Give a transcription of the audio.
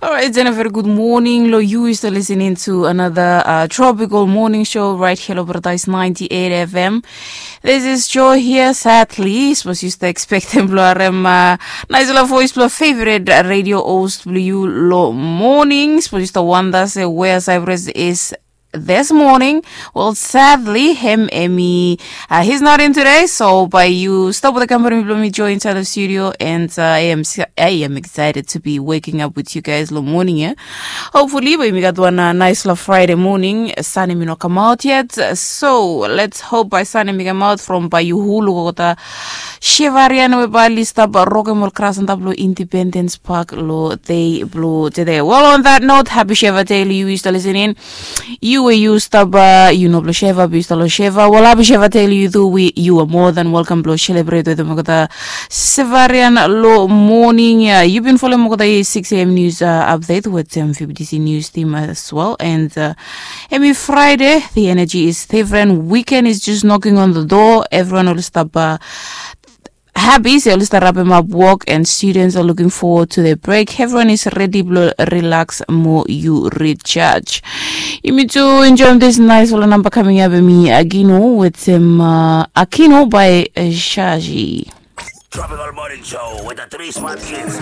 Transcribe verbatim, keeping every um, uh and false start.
Alright, and a very good morning lo yu. You still listening to another uh, tropical morning show right here lo Paradise ninety-eight F M. This is Joy here. Sadly, suppose you still expect him blo harem uh, nice lo voice blo favorite radio host blo yu lo morning. Suppose you still wonder say where Cyprus is this morning. Well, sadly, him Emmy, uh, he's not in today. So by you stop with the company blo mi Joy inside the studio, and uh, I am I am excited to be waking up with you guys lo morning. Yeah, hopefully, by mi gat one uh, nice lo Friday morning. Sun mi no come out yet. So let's hope by sun mi come out from by you who lo gota Shevarian we bali stap rock and roll crash on top lo Independence Park lo day blo today. Well, on that note, happy Sheva Day lo you is listening. You we you stap uh, you know blo Sheva, be stalo Sheva. Well, happy Sheva Day lo you too. We you are more than welcome blo celebrate with them kota Shevarian lo morning. Yeah, you been following kota six a.m. news uh, update with them F B T C news team as well. And uh, Emi Friday, the energy is different. Weekend is just knocking on the door. Everyone will stop uh, happy, so let's start wrapping up work, and students are looking forward to their break. Everyone is ready blo relax mo you recharge. Yumi too enjoy this nice lo number coming up mi Agino with him uh, Akino by uh, Shaji. Tropical Morning Show with the three smart kids.